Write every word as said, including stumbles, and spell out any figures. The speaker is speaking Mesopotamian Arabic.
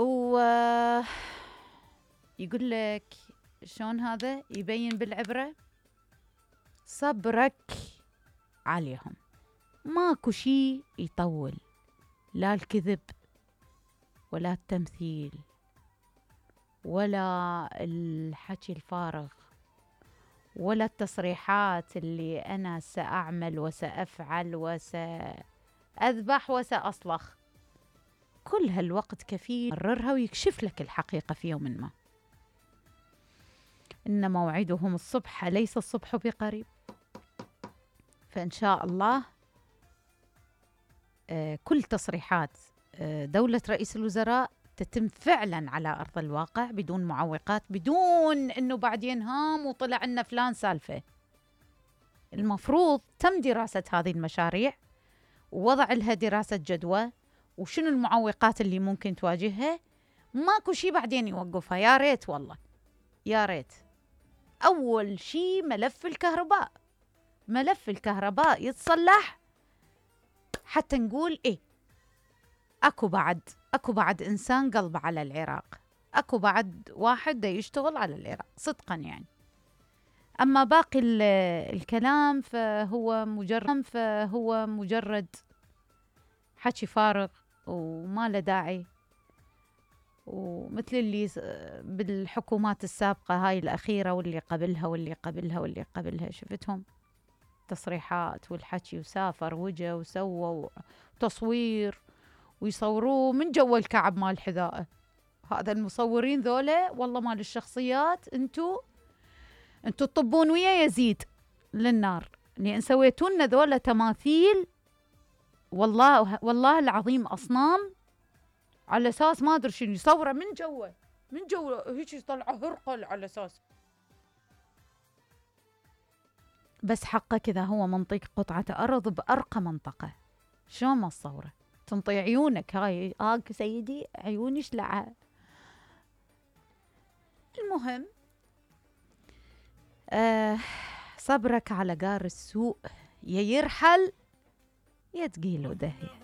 و يقول لك شلون هذا يبين بالعبرة صبرك عليهم. ماكو شي يطول، لا الكذب ولا التمثيل ولا الحكي الفارغ ولا التصريحات اللي أنا سأعمل وسأفعل وسأذبح وسأصلخ. كل هالوقت كفيل يمررها ويكشف لك الحقيقة في يوم ما. إن موعدهم الصبح ليس الصبح بقريب. فإن شاء الله آه كل تصريحات آه دولة رئيس الوزراء تتم فعلا على أرض الواقع بدون معوقات، بدون أنه بعدين هام وطلع لنا فلان سالفة. المفروض تم دراسة هذه المشاريع ووضع لها دراسة جدوى وشنو المعوقات اللي ممكن تواجهها. ماكو شي بعدين يوقفها. يا ريت والله يا ريت. أول شي ملف الكهرباء، ملف الكهرباء يتصلح حتى نقول إيه أكو بعد أكو بعد إنسان قلبه على العراق، أكو بعد واحد دا يشتغل على العراق صدقا يعني. أما باقي الكلام فهو مجرد فهو مجرد حكي فارغ وما له داعي. ومثل اللي بالحكومات السابقة هاي الأخيرة واللي قبلها واللي قبلها واللي قبلها شفتهم تصريحات والحكي وسافر وجه وسوى وتصوير ويصوروه من جو الكعب مال حذائه. هذا المصورين ذولا والله مال الشخصيات انتو انتو تطبون ويا يزيد للنار لأن سويتوا لنا ذولا تماثيل والله والله العظيم أصنام على أساس ما أدري شنو يصوره من جوه من جوه هيك يطلعه هرقل على أساس بس حقه كذا هو منطق قطعة أرض بأرقى منطقة. شو ما تصوره تنطي عيونك هاي آك سيدي عيوني شلعها. المهم آه صبرك على جار السوء يا يرحل يا تقيله دهية.